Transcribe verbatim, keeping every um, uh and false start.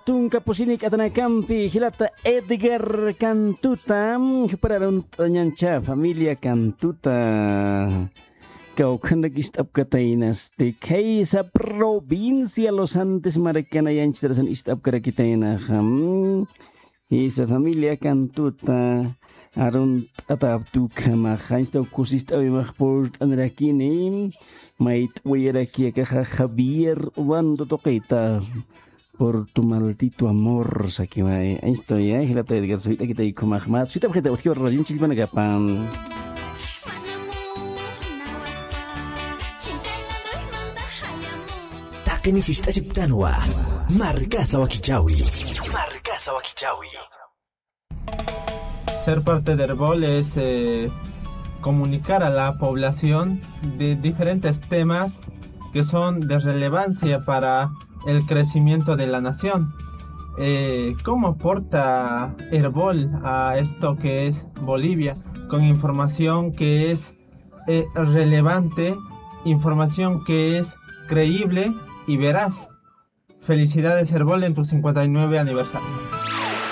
Tunka pusini k'atanakampi jilata Edgar Cantuta, jupar arunt'añancha familia Cantuta. Kawkhanrak ist'apkataynasti, khaysa provincia Los Andes markana yanchitarasan ist'apkarakitaynaxa. Isa familia Cantuta, arunt'ataptukhamaxa, anchitaw kusist'awimax purt'anirakini, mayt'wiyaraki akaxa Javier Obando tuqita. Por tu maldito amor, sakiway. Esto ya, jilata Edgar, suyt'akitay khumaxmat. Suyt'apxita, utjiw radion chillpanakapan. Taqini sist'asiptanwa. Markasa wakichawi. Markasa wakichawi. Ser parte de Erbol es eh, comunicar a la población de diferentes temas que son de relevancia para el crecimiento de la nación. Eh, ¿Cómo aporta Erbol a esto que es Bolivia? Con información que es eh, relevante, información que es creíble y veraz. Felicidades Erbol en tu cincuenta y nueve aniversario.